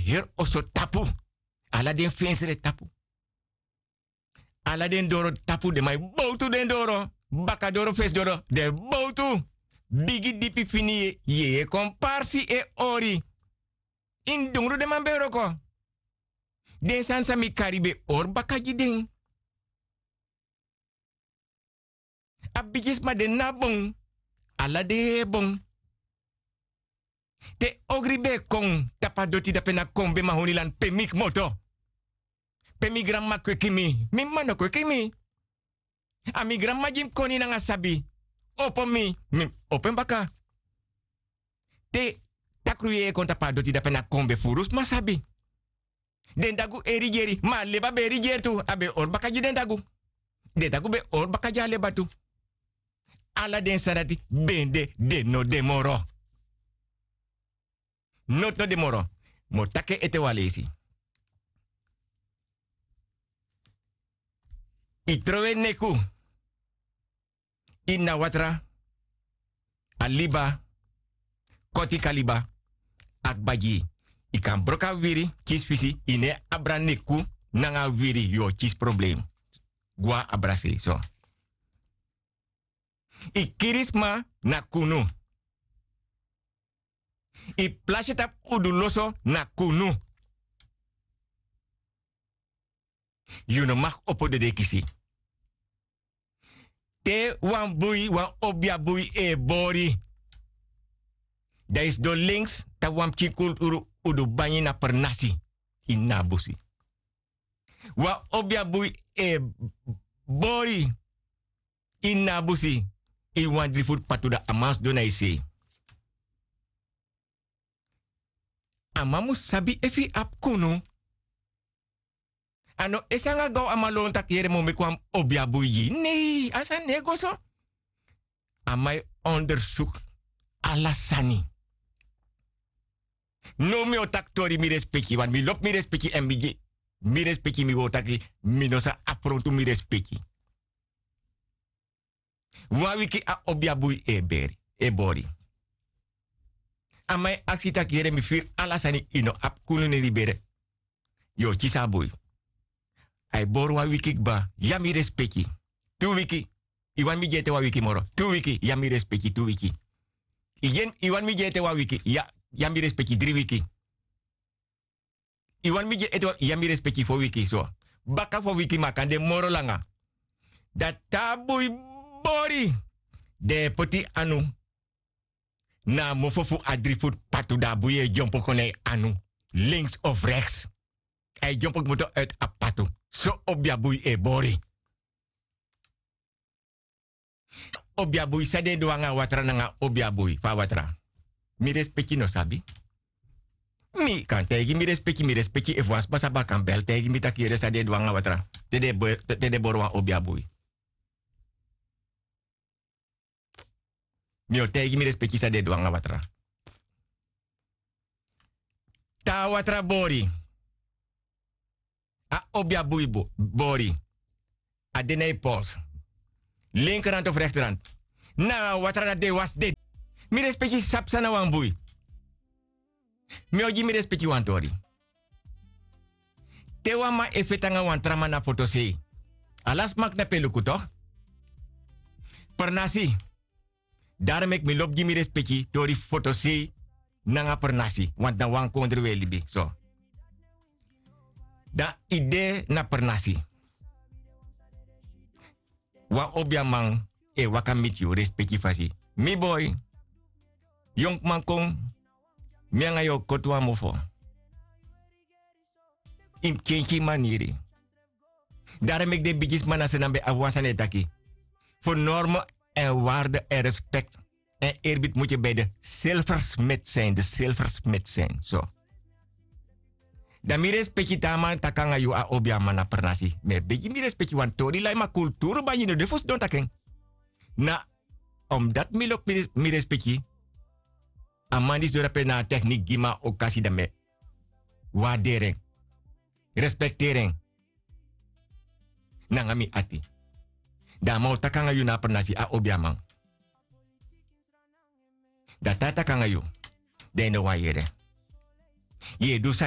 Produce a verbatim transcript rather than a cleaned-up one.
heri oso tapu. Ala den fensre tapu. Ala den doro tapu, den man e bowtu den doro. Bakadoro, fesdoro, den e bowtu. Bigi dipi fini, yeye kon parsi e ori. Ini dungru den man ben wroko. Den sani san mi kari ben e ori baka gi den. A bigisma de na bon. Ala de bon. Te ogri ben e kon tapu a doti dape na kon ben mahonilan pe mi kmoto. Pe mi granmama kweki mi, mi mama no kweki mi. A mi granmama gi mi koni nanga sabi. Opo mi, mi opo en baka. Te takru yeye kon tapu a doti dape na kon ben furu sma sabi. Den dagu e rigeri, ma a leba ben e rigeri tu, a ben e ori baka gi den dagu. Den dagu ben e ori baka gi a leba tu. Ala den sani dati ben de, den no de moro. Noti no de moro. Mi o taki en ete wan leisi. Yu trowe neku ini a watra, a liba, koti kaliba, a kba gi yu. Yu kan broko a wiri, kisi fisi, yu no e abra neku nanga a wiri, yu o kisi problem. Gwa abra sei, so. Yu kiri sma na kunu. Yu plasi tapu udu loso na kunu. Yu no mag opo dede kisi. Te wan bui, wan obia bui e bori. Dan yu sidon links, tapu wan pikin kulturu, udu banyi na pernasi. Ini a busi. Wan obia bui e bori. Ini a busi, ini wan dri futu patu, dan a man sidon na yu sei. A man mus sabi efu yu abi kunu. A no e sanga gaw a man lon taki yere mi o meki wan obia bui gi yu. Nei, a sani no e go so. A man e ondersuku ala sani. Now mi o taki tori, mi respeki, want mi lobi mi respeki èn mi gi mi respeki, mi wani taki mi no sa afrontu mi respeki. Wan wiki a obia bui e beri, e bori. A man e aksi taki yere mi firi ala sani, yu no abi kunu na ini bere. Yu o kisi a bui. A e bori wan wiki kba, ya mi respeki. Tu wiki. Yu wani mi gi en ete wan wiki moro. Tu wiki, ya mi respeki, tu wiki. Yu gi en, yu wani mi gi en ete wan wiki, ya, ya mi respeki, dri wiki. Yu wani mi gi en ete wan, ya mi respeki, fo wiki so. Baka fo wiki, ma a kan de moro langa. Dan te a bui bori, den e poti anu na a mofo fu a dri futu patu, dan a bui e dyompo kon na yu anu. Links of rechts. A e dyompo kmoto uit a patu. So obia bui e bori. Obia bui, san den e du nanga a watra nanga obia bui, fu a watra. Mi respeki no sabi. Mi kan taigi mi respeki, mi respeki efu wan sma sabi a kan bel taigi mi taki yere san den e du nanga watra. Te den e bo-, te den e bori wan obia bui. Mi o taigi mi respeki san den e du nanga watra. Te a watra bori. A obia bui bo-, bori. A de na yu pols. Linkerhand of rechterhand. Na a watra dati den e wasi dede. Mi respeki, sabi san na wan bui. Mi o gi mi respeki wan tori. Te wan man e feti nanga wan tra man na fotosei. Ala sma knapu e luku toch. Pernasi. Daarom meki mi lobi gi mi respeki tori fotosei nanga pernasi. Want na wan kondre wi e libi. So. Dan yu de na pernasi. Wan obiaman e waka miti yu, respeki fasi. Mi boi. Yonkman kon, mi nanga yu o koti wan mofo. Yu mus kenki yu maniri. Daarom meki den bigisma na Saanan ben abi wan sani e taki: voor normen en waarden en respect en eerbied moet je bij de zilversmid zijn, de zilversmid zijn. So. Dan mi respeki te a man taki nanga yu, a obiaman na pernasi. Mi e begi mi respeki, want tori lai, ma kulturu banyi no de fu sidon taki en. Na omdat mi lobi mi res-, mi respeki, a man disi doro ape na a techniek gi mi a okasi, dan mi e waarderi en, respekteri en nanga mi ati. Dan a man o taki nanga yu na a pernasi, a obiaman. Dan te a taki nanga yu, dan yu no wani yere. Yu e du sani